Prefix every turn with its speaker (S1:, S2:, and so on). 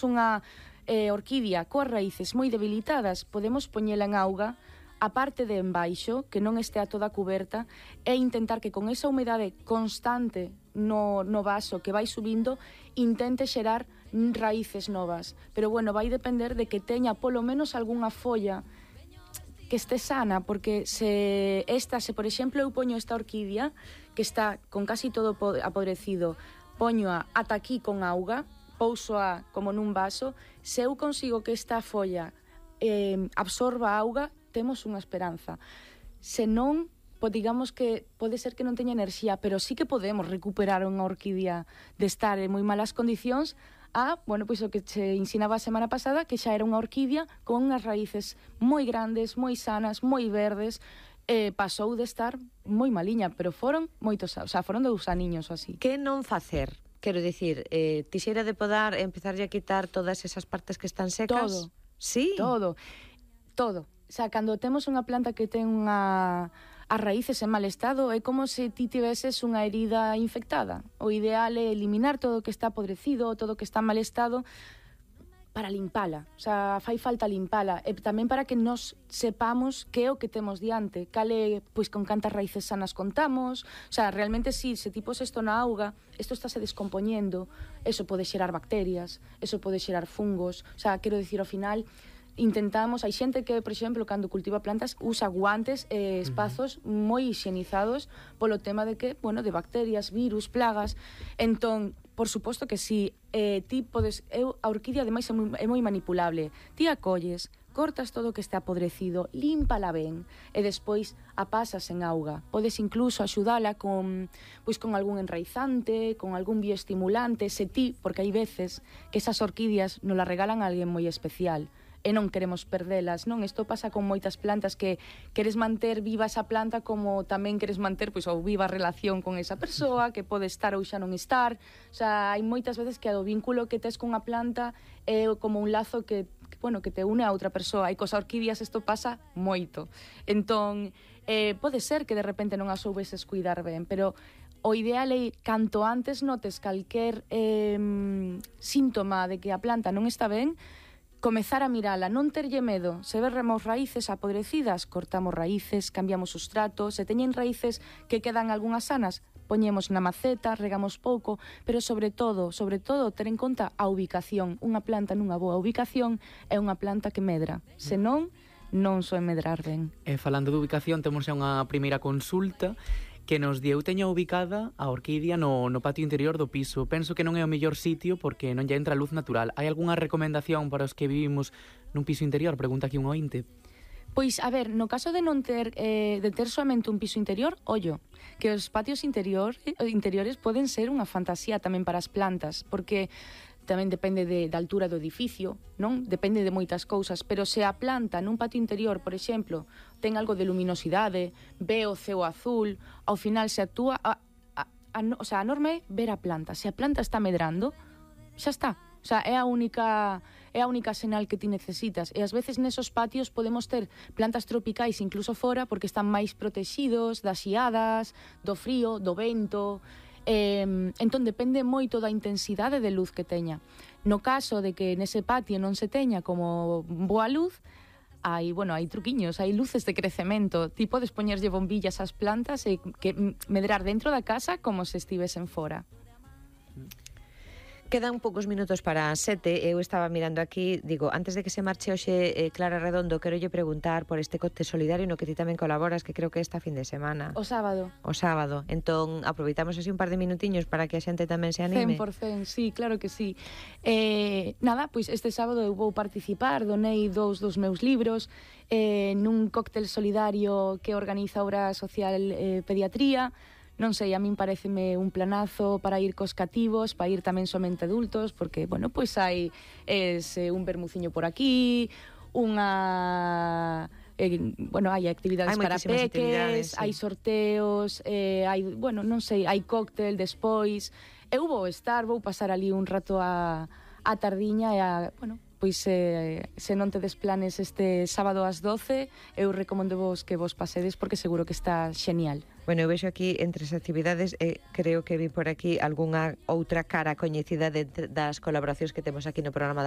S1: unha orquídea coas raíces moi debilitadas, podemos poñela en auga a parte de embaixo, que non estea toda cuberta, e intentar que con esa humedade constante no vaso que vai subindo, intente xerar raíces novas. Pero bueno, vai depender de que teña polo menos algunha folla que este sana, porque se por exemplo, eu poño esta orquídea que está con casi todo apodrecido, poñoa ata aquí con auga, pousoa como nun vaso, se eu consigo que esta folla absorba auga, temos unha esperanza. Se non, digamos que pode ser que non teña enerxía, pero sí que podemos recuperar unha orquídea de estar en moi malas condicións bueno, pois o que che ensinaba a semana pasada, que xa era unha orquídea con unhas raíces moi grandes, moi sanas, moi verdes, pasou de estar moi maliña, pero foron moitos, foron 2 aniños ou así.
S2: Que non facer? Quero dicir, tixera de podar e empezarlle a quitar todas esas partes que están secas?
S1: Todo.
S2: Sí?
S1: Todo. Cando temos unha planta que ten as raíces en mal estado, é como se ti tiveses unha herida infectada. O ideal é eliminar todo o que está podrecido, todo o que está en mal estado, para limpala. Fai falta limpala. E tamén para que nos sepamos que é o que temos diante. Cale, pois, con cantas raíces sanas contamos. Realmente, se ti pos isto na auga, isto estáse descompoñendo. Eso pode xerar bacterias, eso pode xerar fungos. Quero dicir, ao final, intentamos, hai xente que, por exemplo, cando cultiva plantas, usa guantes e espazos moi higienizados polo tema de que, de bacterias, virus, plagas. Entón, por suposto que si ti podes, a orquídea ademais é moi manipulable. Ti a colles, cortas todo o que está apodrecido, límpala ben e despois a pasas en auga. Podes incluso axudala con algún enraizante, con algún bioestimulante, se ti, porque hai veces que esas orquídeas nos las regalan a alguén moi especial e non queremos perdelas, non? Isto pasa con moitas plantas que queres manter viva esa planta como tamén queres manter ou viva a relación con esa persoa que pode estar ou xa non estar. Hai moitas veces que o vínculo que tes con a planta é como un lazo que te une a outra persoa, e cos orquídeas isto pasa moito. Entón, pode ser que de repente non as soubeses cuidar ben, pero o ideal é, canto antes notes calquer síntoma de que a planta non está ben, comezar a mirala, non terlle medo. Se verremos raíces apodrecidas, cortamos raíces, cambiamos sustrato. Se teñen raíces que quedan algunhas sanas, poñemos na maceta, regamos pouco, pero sobre todo, ter en conta a ubicación. Unha planta nunha boa ubicación é unha planta que medra. Se non soe medrar ben.
S3: Falando de ubicación, temos xa unha primeira consulta que nos di: eu teño ubicada a orquídea no patio interior do piso. Penso que non é o mellor sitio porque non lle entra luz natural. Hai algunha recomendación para os que vivimos nun piso interior? Pregunta aquí un ointe.
S1: Pois, a ver, no caso de non ter somente un piso interior, ollo, que os patios interiores poden ser unha fantasía tamén para as plantas, porque tamén depende da altura do edificio, non? Depende de moitas cousas, pero se a planta nun patio interior, por exemplo, ten algo de luminosidade, ve o ceo azul, ao final se actúa, a norma é ver a planta. Se a planta está medrando, xa está. É a única sinal que ti necesitas. E ás veces nesos patios podemos ter plantas tropicais incluso fora porque están máis protegidos das xiadas, do frío, do vento. Entón depende moito da intensidade de luz que teña. No caso de que nese patio non se teña como boa luz, hai truquiños, hai luces de crecemento. Ti podes poñerlle bombillas ás plantas e que medrar dentro da casa como se estivesen fora.
S2: Quedan poucos minutos para as 7. Eu estaba mirando aquí, digo, antes de que se marche hoxe Clara Redondo, quero lle preguntar por este cóctel solidario no que ti tamén colaboras, que creo que esta fin de semana.
S1: O sábado.
S2: Entón, aproveitamos así un par de minutiños para que a xente tamén se anime.
S1: 100%, sí, claro que sí. Pois este sábado eu vou participar, donei 2 dos meus libros nun cóctel solidario que organiza Obra Social Pediatría. Non sei, a min pareceme un planazo para ir cos cativos, para ir tamén somente adultos, porque, pois hai un vermuciño por aquí, hai actividades para peques, hai sorteos, hai cóctel despois. Eu vou pasar ali un rato a tardiña e pois se non tedes planes este sábado ás 12, eu recomendo vos que vos pasedes porque seguro que está genial.
S2: Bueno, eu vexo aquí entre as actividades, creo que vi por aquí algunha outra cara coñecida das colaboracións que temos aquí no programa da